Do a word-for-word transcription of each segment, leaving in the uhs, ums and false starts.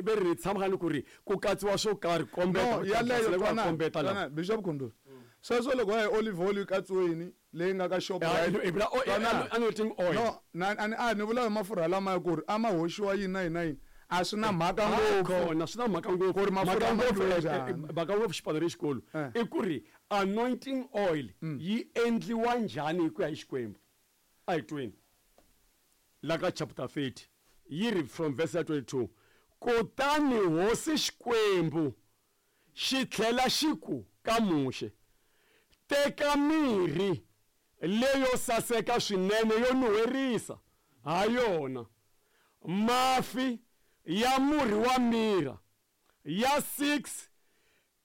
Ve ri tshama ni ku ri ku katsiwa swo karhi kombeta yaleyo kombeta la Bishop Khundula sweswo loko hi olive oil yi katsiweni leyi nga ka shop anointing oil no na a ni vula hi mafurha lama ya ku ri a ma hoxiwa yini na yini na yini a swi na mhaka ngopfu na swi na mhaka ngopfu ku ri mafurha ngopfu mhaka ngopfu xipano lexikulu i ku ri anointing oil yi endliwa njhani hi ku ya hi Xikwembu a hi tweni la ka chapter thirty yi ri from verse twenty-two kutani hosi Xikwembu xi tlhela xi ku ka Muxe teka mirhi leyo saseka swinene yo nuherisa ha yona mafi ya murhi wa mira ya six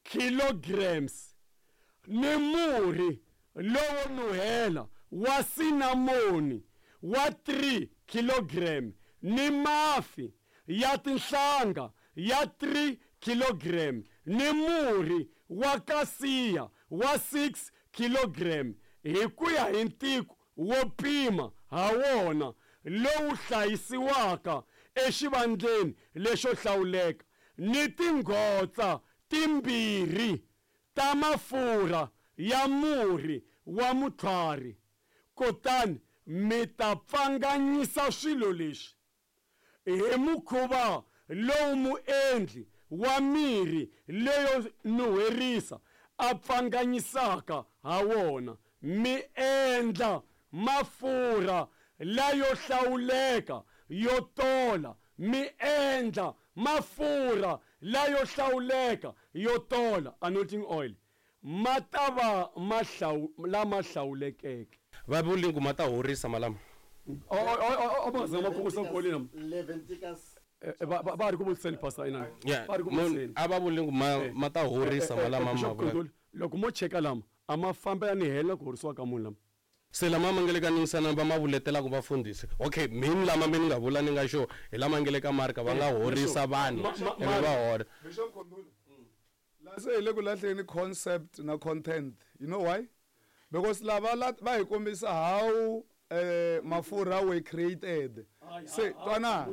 kilograms ni murhi lowo nuhela wa sinamoni wa three kilogram ni mafi ya tinhlanga ya three kilogram ni murhi wa kasiya wa six kilogram hi ku ya hi ntiko wo pima ha wona lowu hlayisiwaka exivandleni lexo hlawuleka ni tinghotsa timbirhi ta mafurha ya murhi wa mutlhwari kutani mi ta pfanganyisa swilo leswi hi mukhuva lowu muendli wa mirhi leyo nuherisa a pfanganyisaka ha wona mi endla mafurha layo hlawuleka yo tola mi endla mafurha layo hlawuleka yo tola anointing oil ma ta va lama hlawulekeke va vuli ku ma ta horisa malama va ri ku vutiseni pastor inani va ri ku vutiseni a va vuli ku ma ta horisa malama ma loko mo cheka lama a ma fambelani hela ku horisiwa ka munhu lama se lama ma nga le ka ningisana va ma vuletelaka vafundhisi okay mini lama mi ni nga vula ni nga xo hi lama nga le ka Marka va nga horisa vanhu ivi va hora Bishop Khundula la se hi le ku lahleni concept na content you know why because lava va hi kombisa how eh mafurha were created se twana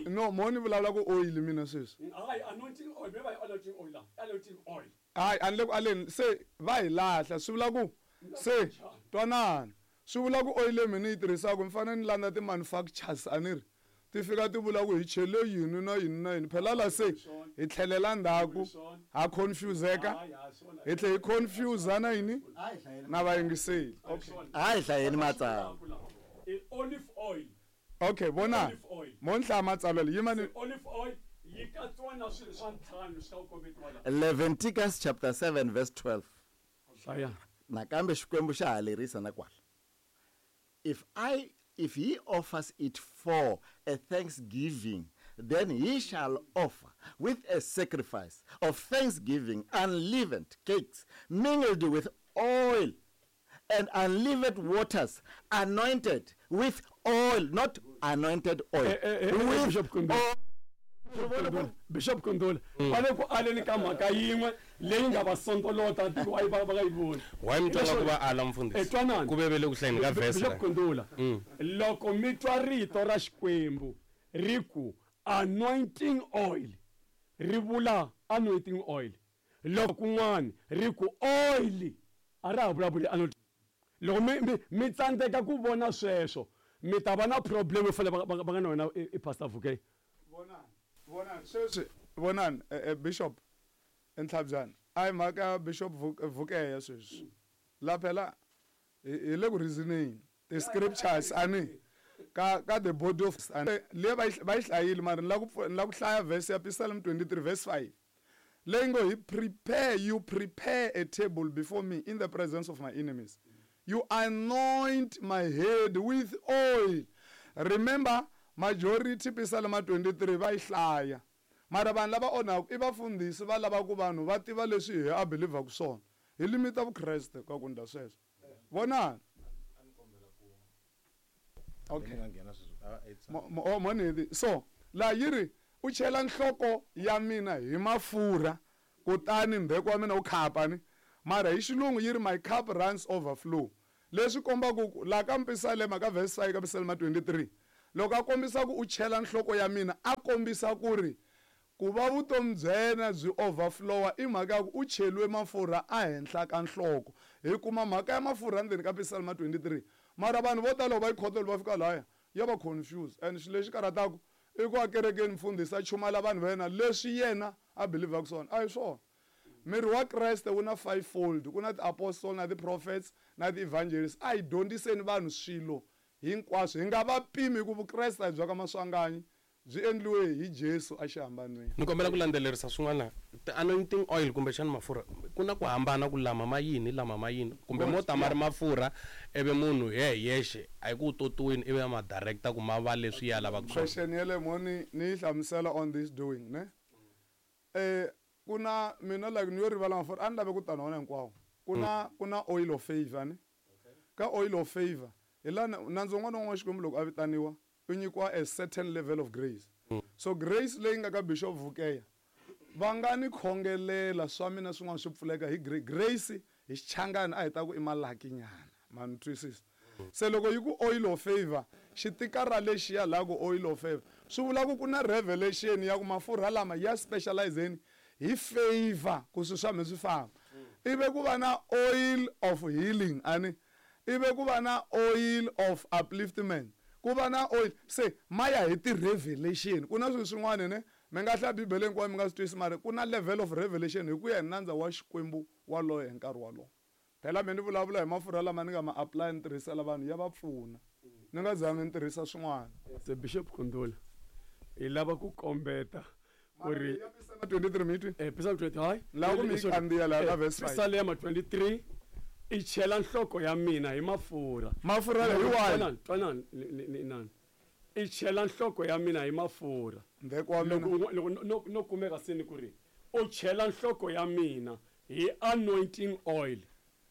no moni vulavula ku oil mina sweswi hayi anointing oil me va anointing oil la anointing oil hayi a ni le ku aleni se va hi lahla swi vula ku se twanana swi vula ku oil leyi mina yi tirhisaka mi fanele ni landza ti-manufacturers a ni ri ti fika ti vula ku hi chele yini na yini na yini phela la se hi tlhelela ndzhaku ha confuseka hi tlhe hi confuse na yini na vayingiseli a hi hlayeni matsalwa olive oil okay vona mo ni hlaya matsalwa leyi yima ni olive oil yi katsiwa na swilo swa ntlhanu swi ta kombetiwa la Leviticus chapter seven verse twelve hlaya nakambe Xikwembu xa ha lerisa na kwala if I if he offers it for a thanksgiving then he shall offer with a sacrifice of thanksgiving unleavened cakes mingled with oil and unleavened waters anointed with oil not anointed oil eh, eh, eh, with Bishop oil. Bishop Kundula va le ku aleni ka mhaka yin'we leyi nga va sondolota tiko wa va va nga yi voni why mi twanga ku va ala mfundhisi twanani ku vevele ku hlayeni ka verse Bishop Kundula loko mi twa rito ra Xikwembu ri ku anointing oil ri vula anointing oil loko kun'wana ri ku oil a ra ha vulavuli anointing loko mi mi mi tsandzeka ku vona sweswo mi ta va na problem yo fanele va nga na wena i Pastor Vuke vonani vonani sweswi vonani Bishop Ntlhabyana a hi mhaka ya Bishop Vukeya sweswi la phela hi le ku reasoning the scriptures ani ka ka the body of le va yi hlayile mara ni la ku ni la ku hlaya verse ya Psalm twenty-three verse five leyi ngo hi prepare you prepare a table before me in the presence of my enemies you anoint my head with oil remember majority Psalm twenty-three va yi hlaya mara vanhu lava onhaka i vafundhisi va lava ku vanhu va tiva leswi hi a believaku swona hi limita vukreste ka ku ndla sweswo vonani okay monedi so la yi ri u chela nhloko ya mina hi mafurha kutani mbheko wa mina wu khapa ni mara hi xilungu yi ri my cup runs overflow leswi kombaka ku la ka Mpisalema ka verse five ka Psalm twenty-three Loko a kombisa ku u chela nhloko ya mina a kombisa ku ri ku va vutomi bya yena byi overflowa i mhaka ya ku u cheliwe mafurha ehenhla ka nhloko. Hi kuma mhaka ya mafurha ndzeni ka Psalm twenty-three. Mara vanhu vo tala va yi khotela va fika laya ya va confused and xilo lexi karhataka i ku a kerekeni mfundhisi a chumayela vanhu va yena leswi yena a believaka swona a hi swona. Miri wa Kreste wu na fivefold, ku na ti-apostle na ti-prophets na ti-evangelists. A hi dyondziseni vanhu swilo hinkwaswo hi nga va pimi ku Vukreste a hi bya ka Maswanganyi byi endliwe hi Jesu a xihambanweni. Ni kombela ku landzelerisa swin'wana ti-anointing oil kumbexana mafurha ku na ku hambana ku lama ma yini lama ma yini kumbe mo ta ma ri mafurha ivi munhu ye yexe a hi ku totiwini ivi a ma directa ku ma va leswi ya lavaka swona. Question ya le mo ni ni yi hlamusela on this doing ne eh kuna mina like ni yo rivala mafurha a ni lave ku ta na wona hinkwawo. Kuna kuna oil of favor ne ka oil of favor hi laha nandzu wun'wana na wun'wana wa Xikwembu loko a vitaniwa u nyikiwa a certain level of grace. Mm. So grace leyi nga ka Bishop Vukeya va nga ni khongelela swa mina swin'wana swi pfuleka hi grace hi xichangani a hi ta ku i malaki nyana ma ni twisisa. Se loko yi ku oil of favor xitikara lexiya laha ku oil of favor swi vula ku ku na revelation ya ku mafurha lama ya specializeni hi favor ku swi swa mi swi famba. Ive ku va na oil of healing ani ive ku va na oil of upliftment ku va na oil se maya hi ti-revelation. Ku na swilo swin'wana ne mi nga hlaya Bibele hinkwayo mi nga swi twisisi mara ku na level of revelation hi ku ya hi nandza wa Xikwembu waloye hi nkarhi walowo. Phela me ni vulavula hi mafurha lama ni nga ma apply ni tirhisela vanhu ya va pfuna ni nga zangi ni tirhisa swin'wana. Se Bishop Kundula hi lava ku kombeta ku ri twenty-three mi twi eh Psalm twenty hayi la ku mi kandziya laha ka verse five. Psalm twenty-three i chela nhloko ya mina hi mafurha. Mafurha hi wahi? Twanani ni i chela nhloko ya mina hi mafurha. Ndheko wa mina. Loko loko no kumeka se ni ku ri u chela nhloko ya mina hi anointing oil.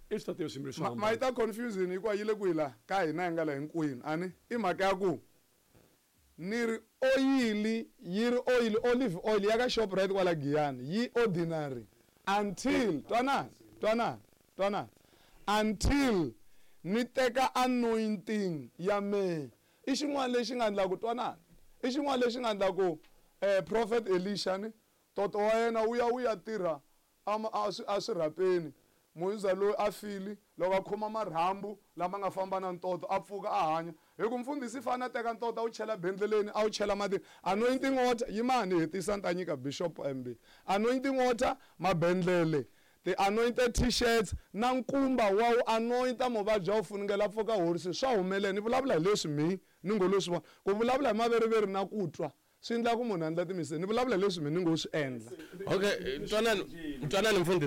I swi tatile swimbirhi swo Ma yi ta confusing hikuva yi le kwihi laha ka hina hi nga la hinkwenu ani i mhaka ya ku ni ri oyili yi ri oil olive oil ya ka Shoprite kwala Giyani yi ordinary until twanani twanani twanani until ni teka anointing ya mehe. I xin'wana lexi nga endla ku twanani i xin'wana lexi nga endla ku eh Prophet Elisha ni toto wa yena wu ya wu ya tirha a swirhapeni muyuza loyi a fili loko a khoma marhambu lama nga famba na ntoto a pfuka a hanya hi ku mfundhisi fana teka ntoto a wu chela bendleleni a wu chela matini anointing water yimani hetisa ni ta nyika Bishop M B anointing water mabendlele the anointed t-shirts na nkumba wa wu anointa muvabyi a wu funengela pfuka horisi swa humelela. Ni vulavula hi leswi mi ni ngo lo swi vona ku vulavula hi maveriveri na ku twa swi endla ku munhu a endla timise ni vulavula hi leswi mi ni ngo swi endla. Okay, twanani twanani mfundhisi.